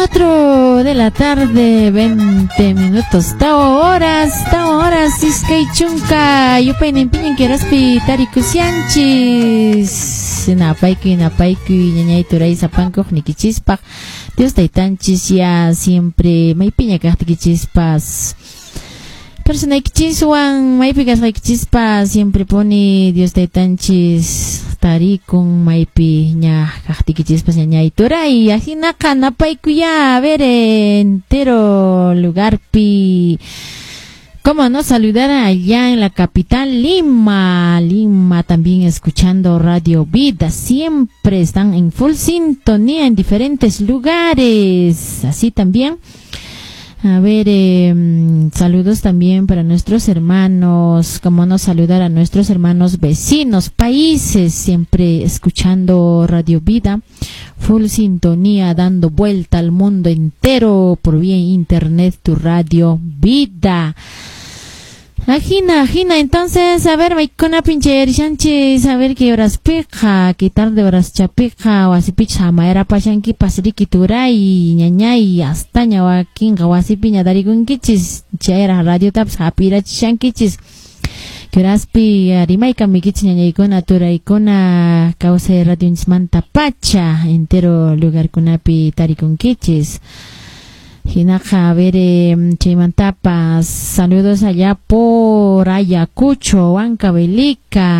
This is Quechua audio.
4 de la tarde, 20 minutos. Tao horas, iskay chunka, yupayninpiñan kiraspi tarikushanchis. Napaykuy, napaykuy, ñañay turay sapankuq nikichispaq. Dios taytanchis ya siempre maypiña kaqtikichispas. Personaykichiswan maypi kasqaykichispas siempre pone Dios taytanchis tarikun maypi ña kaqtikichispas ñañay turay. Ajinaqa napaykuya, a ver, entero lugarpi. ¿Cómo no saludar allá en la capital Lima? Lima también escuchando Radio Vida. Siempre están en full sintonía en diferentes lugares. Así también. A ver, saludos también para nuestros hermanos, cómo no saludar a nuestros hermanos vecinos, países, siempre escuchando Radio Vida, full sintonía, dando vuelta al mundo entero por vía internet, tu Radio Vida. Ajina, ajina, entonces, a ver, maykuna pinche a ver qué horas pica, qué tarde horas chapica, wasipicha hamaera pashanki pasriki turay, ñañay, hasta ñawakinqa wasipiña tarikunkichis, chayra radio taps hapirachishankichis. Qué horaspi rimayka mikichis ñañaykuna turaykuna kawsay radionchismanta pacha, entero lugarkunapi tarikunkichis. Hinaqa, a ver, chaymantapas, saludos allá por Ayacucho, Huancavelica.